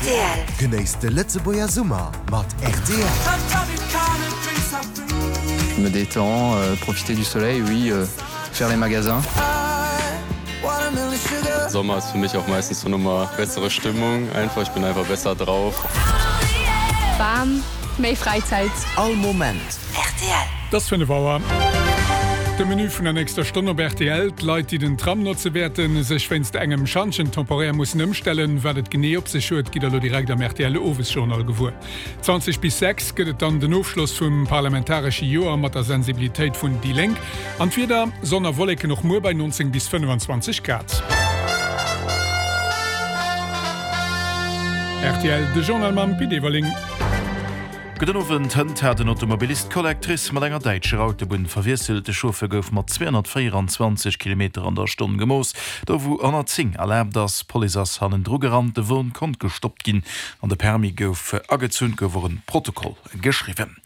Rtl. Genéisst de Lëtzebuerger Summer mat rtl. Je me détends, profiter du soleil, oui, faire les magasins. Sommer ist für mich auch meistens so nochmal bessere Stimmung einfach, ich bin einfach besser drauf. Bam, méi Fräizäit. All Moment. Rtl. Et ass 5 Auer. De Menü vun der nächster Stonn op rtl, D'Leit, déi den Tram notze wäerte sech wéinst engem Schantjen temporär mussen ëmstellen. Wat et genee op sech huet, gitt der elo direkt am rtl Owesjournal gewuer. 20 bis 6 gëtt et dann den Ofschloss vum parlamentaresche Joer mat der Sensibilitéit vun déi Lénk. An d'Wieder, Sonn a Wolleken och muer bei 19 bis 25 Grad. Rtl, De Journal mam Pit Everling. Gudden Owend. Hënt hat en Automobilist d'Collectrice mat enger däitscher Autobunn verwiesselt. De Chauffeur gouf mat 224 Kilometer an der Stonn gemooss, do wou 110 erlaabt ass. D'Police ass hannendru gerannt, de Won konnt gestoppt ginn an de Permis gouf agezunn. Et gouf och en Protokoll geschriwwen.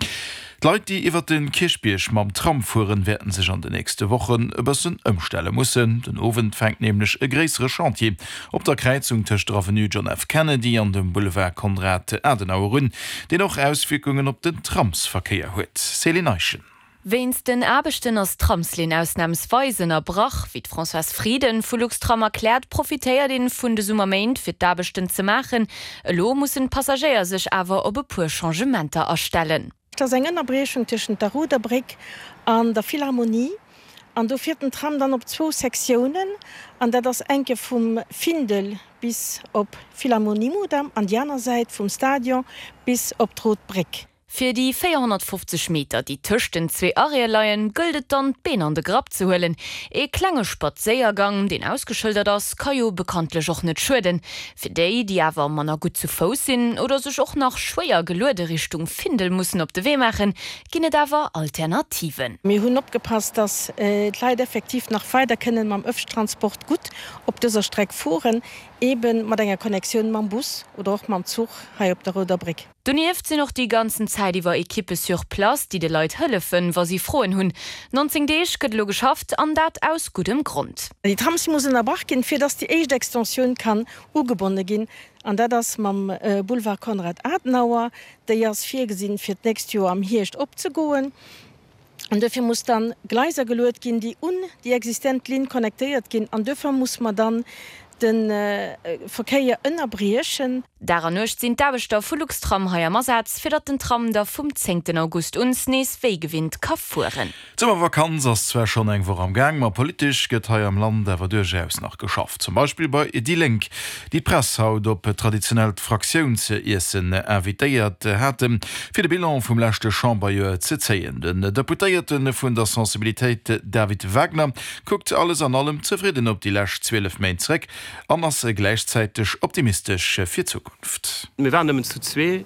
D'Leit, déi iwwer de Kierchbierg mam Tram fueren, wäerten sech an de nächste Wochen e bëssen ëmstelle mussen. Den Owend fänkt nämlech e gréissere Chantier op der Kräizung tëscht der Avenue John F. Kennedy an dem Boulevard Konrad Adenauer un, deen och Auswierkungen op den Tramsverkéier huet. Céline Eischen. Wéinst den Aarbechten ass d'Tramslinn ausnamsweis ënnerbrach. Wéi d'Françoise Frieden vu Luxtram erkläert, profitéiert een vun de Summerméint fir d'Aarbechten ze maachen. Elo mussen d'Passagéier sech awer op e puer Changementer astellen. Et ass eng Ënnerbriechung tëschent der Rouder Bréck an der Philharmonie an do fiert den Tram dann op zwou Sektiounen an dat ass eng Kéier vum Findel bis op Philharmonie-Mudam an déi aner Säit vum Stadion bis op d'Rout Bréck. Fir déi 450 Meter, déi tëscht den zwee Arrêtë leien, gëllt et dann, d'Been an de Grapp ze huelen. Ee klenge Spadséiergang, deen ausgeschëldert ass, ka jo bekanntlech och net schueden. Fir déi, déi awer manner gutt zu Fouss sinn oder sech och nach schwéier geluede Richtung Findel mussen op de Wee maachen, ginn et awer Alternativen. Mir hunn opgepasst, dass d'Leit effektiv nach weider kënnen mam Ëffentransport gutt op dëser Streck fueren, eeben mat enger Connectioun mam Bus oder och mam Zuch hei op der Rouder Bréck. Donieft sinn och déi ganzen Zäit iwwer Ekippe sur place, déi de Leit hëllefen, wa si Froen hunn. 19 Deeg gëtt elo geschafft, an dat aus guddem Grond. Déi Tramsligne muss ënnerbrach ginn, fir dass déi éischt Extensioun kann ugebonne ginn, an dat ass mam Boulevard Konrad Adenauer. Déi ass virgesinn, fir d'nächst Joer am Hierscht opzegoen. An duerfir muss dann Gleiser geluet ginn, déi un déi existent Linn connectéiert ginn. An duerfir muss mer dann de Verkéier ënnerbriechen. Dag an Nuecht sinn d'Aarbechter vu Luxtram hei am Asaz, fir datt den Tram da vum zéngten August un nees wéi gewinnt ka fueren. D'Summervakanz ass zwar schonn eng Woch am Gaang, ma politesch gëtt hei am Land awer duerchaus nach geschafft. Zum Beispill bei déi Lénk, déi d'Press haut op traditionellt Fraktiounsessen invitéiert haten, fir de Bilan vum leschte Chamberjoer ze zéien. Den Deputéierte vun der Sensibilitéit David Wagner kuckt alles an allem zefridden op déi lescht 12 Méint zréck an ass gläichzäiteg optimistesch fir d'Zukunft. Mir waren nëmmen zu zwee.